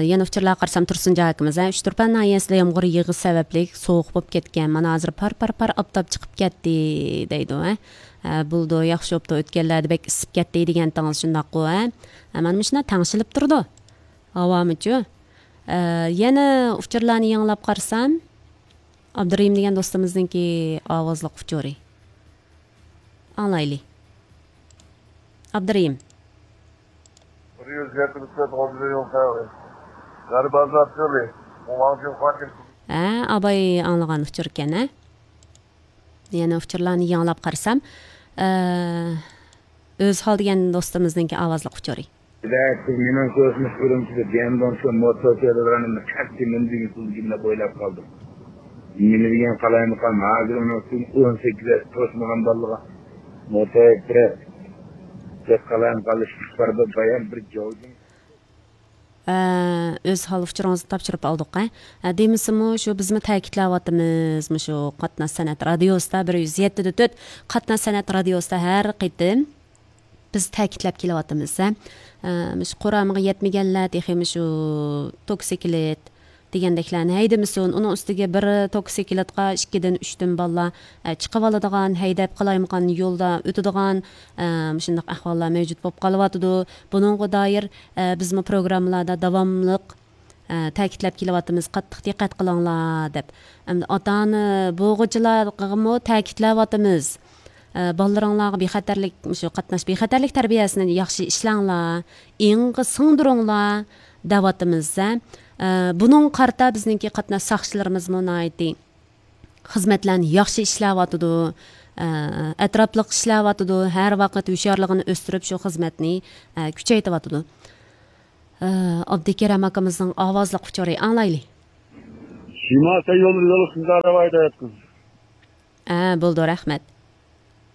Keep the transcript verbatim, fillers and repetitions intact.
يەنە ئۇچۇرلارغا قارىسام، تۇرسۇنجان ئاكىمىز، ھە، ئۇچتۇرپان ناھىيەسىدە يامغۇر يېغىش سەۋەبلىك سوغۇق بولۇپ كەتكەن. مانا ھازىر پار، پار، پار ئاپتاپ چىقىپ كەتتى، دەيدۇ، ھە. ھە، بولىدۇ، ياخشى بوپتۇ، ئۆتكەنلەردە بەك ئىسسىپ كەتتى دېگەنتىڭىز شۇنداققۇ، ھە. ھە، مانا مۇشۇنداق تەڭشىلىپ تۇرىدۇ. ھاۋامىچۇ؟ ئە، يەنە ئۇچۇرلارنى يېڭىلاپ قارىسام، ئابدۇرېھىم دېگەن دوستىمىزنىڭكى ئاۋازلىق ئۇچۇرى. ئاڭلايلى. ئابدۇرېھىم. بىر يۈز يەتمىش تۆت، ئون مىليون تەڭگە. غەربىي ئازاد يولى. مۇڭاڭجىن خۇاڭجىن. ھە، ئاباي ئاڭلىغان ئۇچۇر ئىكەن، ھە؟ يەنە ئۇچۇرلارنى يېڭىلاپ قارىسام، ئە، ئۆزھال دېگەن دوستىمىزنىڭكى ئاۋازلىق ئۇچۇرى. دەك، مېنىڭ كۆرۈشمىش ئۈرۈمچىدە ديەندوڭ شۇ موتور سېلىدىغىنىمنى قەتئىي نېمە دېگىن سىزگە دەپ ئويلاپ قالدىم. نېمە دېگەن قالايمىقان، ھازىر ئۇنىڭ ئۈستىگە ئون سەككىز ياش توشمىغان بالىغا موتور بىر، بىر قالايمىقانلىشىش بار، بىر بايان، بىر جاۋجىڭ. ئە، ئۆزھال ئۇچۇرىڭىزنى تاپشۇرۇپ ئالدۇق، ھە. ئە، دېمىسىمۇ، شۇ بىزمۇ تەكىتلەۋاتىمىز، مۇشۇ قاتناش سەنئەت رادىيوسىدا، بىر يۈز يەتتە دە تۆت قاتناش سەنئەت رادىيوسىدا ھەر قېتىم بىز تەكىتلەپ كېلىۋاتىمىز، ھە. ئە، مۇشۇ قۇرامىغا يەتمىگەنلەر تېخى مۇشۇ توكسىكلىت دېگەندەكلەرنى ھەيدىمىسۇن. ئۇنىڭ ئۈستىگە بىر توكسىكلىتقا ئىككىدىن، ئۈچتىن بالىلار، ئە، چىقىۋالىدىغان، ھەيدەپ قالايمىقان يولدا ئۆتىدىغان، ئە، مۇشۇنداق ئەھۋاللار مەۋجۇت بولۇپ قېلىۋاتىدۇ. بۇنىڭغا دائىر، ئە، بىزمۇ پروگراممىلاردا داۋاملىق، ئە، تەكىتلەپ كېلىۋاتىمىز، قاتتىق دىققەت قىلىڭلار دەپ. ئەمدى ئاتا-ئانا بولغۇچىلارغىمۇ تەكىتلەۋاتىمىز. ئە، بالىلىرىڭلارغا بىخەتەرلىك، مۇشۇ قاتناش بىخەتەرلىك تەربىيەسىنى ياخشى ئىشلەڭلار، ئېڭىغا سىڭدۈرۈڭلار دەۋاتىمىز، ھە. ئە، بۇنىڭغا قارىتا بىزنىڭكى قاتناش ساقچىلىرىمىزمۇ ناھايىتى خىزمەتلەرنى ياخشى ئىشلەۋاتىدۇ، ئە، ئەتراپلىق ئىشلەۋاتىدۇ، ھەر ۋاقىت ھوشيارلىقىنى ئۆستۈرۈپ، شۇ خىزمەتنى، ئە، كۈچەيتىۋاتىدۇ. ئە، ئابدۇكېرەم ئاكىمىزنىڭ ئاۋازلىق ئۇچۇرى ئاڭلايلى. شىماسا يولى يولى شۇنداق راۋايدا ياتقىن. ئە، بولدى، رەھمەت.